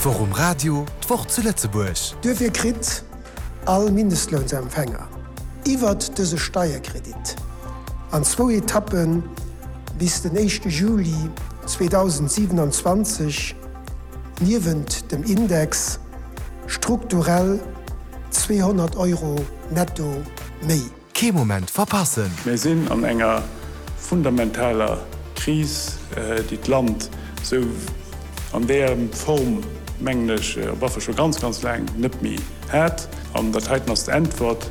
D'Woch um Radio, d'Woch zu Lëtzebuerg. Duerfir kritt all Mindestlounsempfänger iwwert dëse Steierkredit an zwou Etappe bis den éischte Juli 2027 niewent dem Index strukturell 200 Euro netto méi. Kee Moment verpassen! Mir sinn an enger fundamentaler Kris, déi d'Land esou an där Form, mengen ech, op alle Fall scho ganz, ganz laang net méi hat. An dat heiten ass d'Äntwert,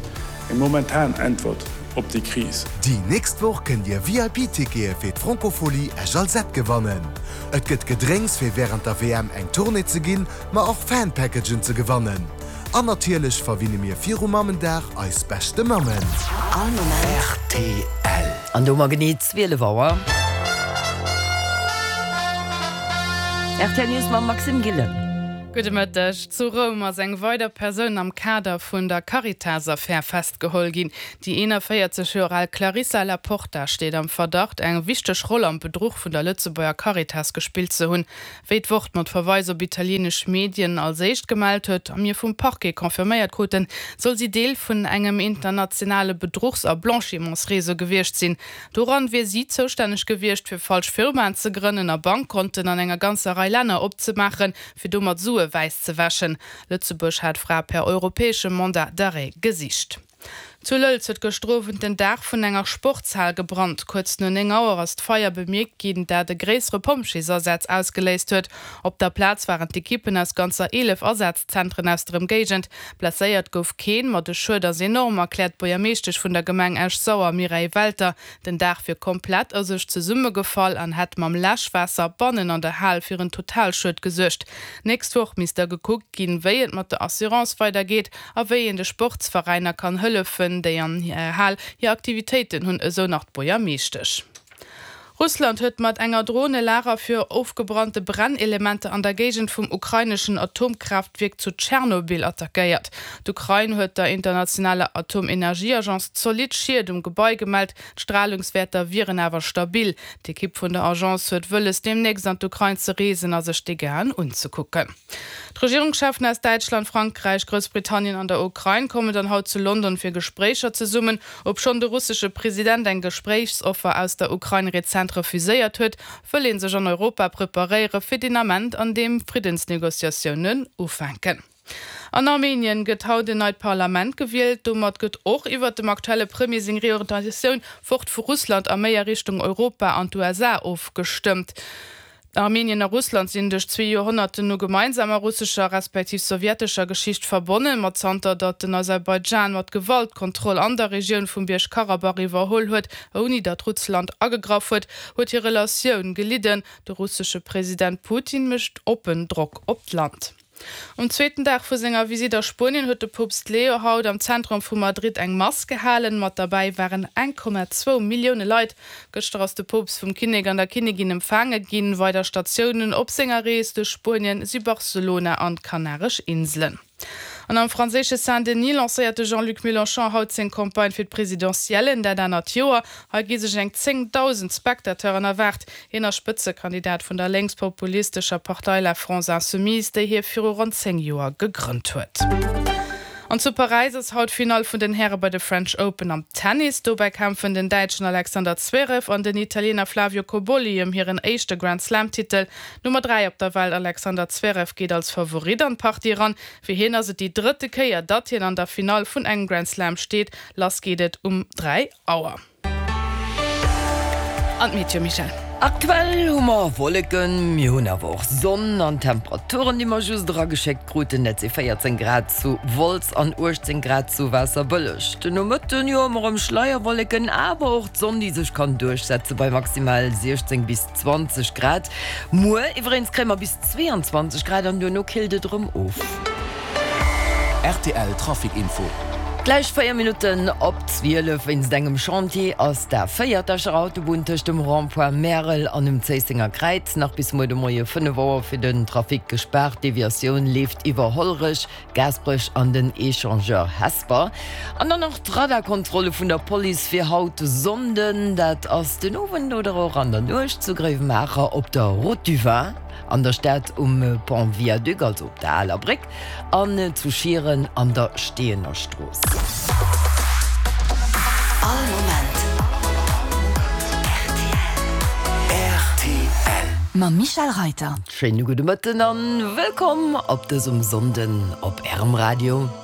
eng momentan Äntwert op déi Kris. Déi nächst Woch kënnt Dir VIP-Tickete fir d'Francophonie Esch-Alzette gewannen. Et gëtt Gedrénks fir wärend der WM eng Tournée ze ginn, ma och Fan-Packagen ze gewannen. An natierlech verwinne mir viru Mammendag eis beschte Mammen. All Moment. Rtl. An do hu mer genee 12 Auer. Rtl News mam Maxime Gillen. Gudde Mëtteg. Zu Roum ass eng weider Persoun am Kader vun der Caritas-Affär festgeholl ginn. Déi 41 Joer al Clarissa La Porta steet am Verdacht, eng wichteg Roll am Bedruch vun der Lëtzebuerger Caritas gespillt ze hunn. Wéi d'Wort mat Verweis op italienesch Medien als éischt gemellt huet a mir vum Parquet confirméiert kruten, soll si Deel vun engem internationale Bedruchs a Blanchimentsreseau gewiescht sinn. Doran wier si zoustänneg gewiescht, fir falsch Firmaen ze grënnen a Bankkonten an enger ganzer Rei Länner opzemaachen, fir domat Sue wäiss ze wäschen. Lëtzebuerg hat d'Fra per europäeschem Mandat d'arrêt gesicht. Zu Lëlz huet gëschter Owend den Daach vun enger Sportshal gebrannt. Kuerz no 9 Auer ass d'Feier bemierkt ginn, dat e gréissere Pompjeesasaz ausgeléist huet. Op der Plaz waren d'Ekippen aus ganzer 11 Asazzentren aus der Ëmgéigend. Blesséiert gouf keen, ma de Schued ass enorm, erkläert d'Buergermeeschtesch vun der Gemeng Esch-Sauer, Mireille Welter. Den Daach wier komplett a sech zesummegefall an hätt mam Läschwaasser bannen an der Hal fir en Totalschued gesuergt. Nächst Woch misst da gekuckt ginn, wéi et mat der Assurance weidergeet. A wéi een de Sportsveräiner kann hëllefen, déi an der Hal hir Aktivitéiten hunn, esou nach d'Buergermeeschtesch. Russland huet mat enger Dron e Lager fir ofgebrannte Brennelementer an der Géigend vum ukraineschen Atomkraaftwierk zu Tschernobyl attackéiert. D'Ukrain huet der internationaler Atomenergieagence zolidd Schied um Gebai gemellt, d'Stralungswäerter wieren awer stabil. D'Ekipp vun der Agence huet wëlles, deemnächst an d'Ukrain ze reesen a sech d'Dégâten unzekucken. D'Regierungscheffen aus Däitschland, Frankräich, Groussbritannien an der Ukrain kommen dann haut zu London fir Gespréicher zesummen. Obschonn de russesche President eng Gespréichsoffer aus der Ukrain rezent refuséiert huet, wëll ee sech an Europa preparéiere fir deen Ament, an deem Friddensnegociatiounen ufänken. An Armenien gëtt haut en neit Parlament gewielt. Domat gëtt och iwwert dem aktuelle Premier seng Reorientatioun fort vu Russland a méi a Richtung Europa an d'USA ofgestëmmt. Armenien a Russland sinn duerch zwee Joerhonnerten u gemeinsamer russescher respektiv sowjetescher Geschicht verbonnen, ma zanter datt den Aserbaidschan mat Gewalt d'Kontroll an der Regioun vum Bierg Karabach iwwerholl huet, ouni datt Russland agegraff huet, huet hir Relatioun gelidden. De russesche President Putin mécht oppen Drock op d'Land. Um zweeten Dag vu senger Visitt a Spuenien huet de Poopst Leo haut am Zentrum vu Madrid eng Mass gehalen. Mat derbäi waren 1,2 Millioune Leit. Gëschter ass de Poopst vum Kinnek an der Kinnigin empfaange ginn. Weider Statiounen op senger Rees duerch Spuenien si Barcelona an d'Kanaresch Inselen. An am franséische Saint-Denis lancéiert de Jean-Luc Mélenchon haut seng Campagne fir d'Presidentiellen dat anert Joer. Hei gi sech eng 10.000 Spectateuren erwaart. Hien ass Spëtzekandidat vun der lénkspopulistescher Partei La France Insoumise, déi hie viru ronn 10 Joer gegrënnt huet. An zu Paräis ass haut d'Finall vun den Häre bei de French Open am Tennis. Dobäi kämpfen den Däitschen Alexander Zverev an den Italiener Flavio Cobolli ëm hiren éischte Grand-Slam-Titel. D'Nummer 3 op der Welt Alexander Zverev geet als Favorit an d'Partie eran. Fir hien ass et déi drëtte Kéier, datt hien an der Finall vun engem Grand Slam steet. Lass geet et um 3 Auer. An d'Meteo, Michèle? Aktuell hu mer Wolleken, mir hunn awer och Sonn an d'Temperaturen, déi mer just erageschéckt kruten, dat si 14 Grad zu Wolz an 18 Grad zu Waasserbëlleg. Den Nomëtten, jo, hu mer erëm Schleierwolleken, awer och d'Sonn, déi sech kann duerchsetze bei maximal 16 bis 20 Grad. Muer iwwereens kréie mer bis 22 Grad an duerno killt et erëm of. Rtl Trafic Info. Gläich 4 Minutten op 12. Wéinst engem Chantier ass d'A4, d'Escher Autobunn tëscht dem Rond-point Märel an dem Zéissenger Kräiz nach bis muer de Moie 5 Auer fir den Trafic gespaart. D'Deviatioun leeft iwwer Hollerech, Gaasperech an den Echangeur Hesper. An dann nach d'Radarkontrolle vun der Police fir haut Sonnden. Dat ass den Owend oder och an der Nuecht zu Gréiwemaacher op der Route du Vin. An der Stad um Pont Viaduc, also op der aler Bréck, an zu Schieren an der Steeëner Strooss. All Moment rtl. Mam Michel Reiter. Schéine gudde Mëtten an wëllkomm op dësem Sonnden op Ärem Radio.